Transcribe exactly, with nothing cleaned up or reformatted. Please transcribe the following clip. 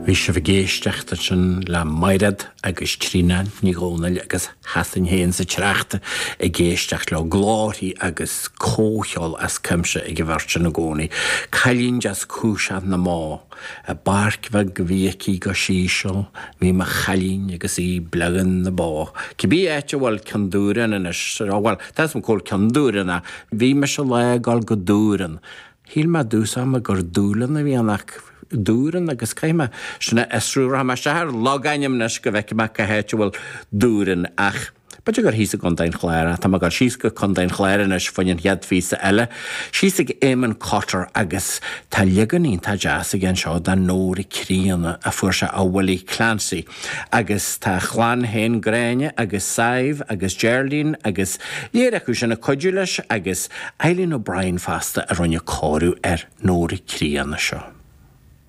Bhí sibh ag éisteacht ansin le Mairéad agus Tríona Ní Dhomhnaill agus sheasainn féin sa tsneachta ag éisteacht leo glórthaí agus comhcheol as cuimse ag an bheirt sin i gcónaí. Cailín deas cúiseach na mbó. I bpáirc bheag a bhí aici go síseal, bhí mo chailín agus í ag bleán na bó. Cibé áit a bhfuil Ceann Dúráin anois, bhuel, tá 'fhios a'm cá bhfuil Ceann Dúráin ach bhí mise lá ag dul go Dúran. Shíl mé i dtús ama gur Dúlann a bhí ann ach Dúran agus caithfidh mé sin a fhiosrú rachaidh mé isteach ar logainm anois go bhfeicfidh mé cá háit a bhfuil Dúran ach b'fhéidir gur thíos i gContae an Chláir tá mé ag dul síos go Contae an Chláir anois fá choinne an chéad phíosa eile síos ag Éamonn Cotter agus tá leagan iontach deas aige anseo den Nóra Críonna a fuair sé ó Willie Clancy agus tá a chlann féin Gráinne agus Sadhbh agus Geraldine agus léir acu sin ag cuidiú leis agus Eileen O'Brien fosta a rinne cóiriú ar Nóra Críonna seo.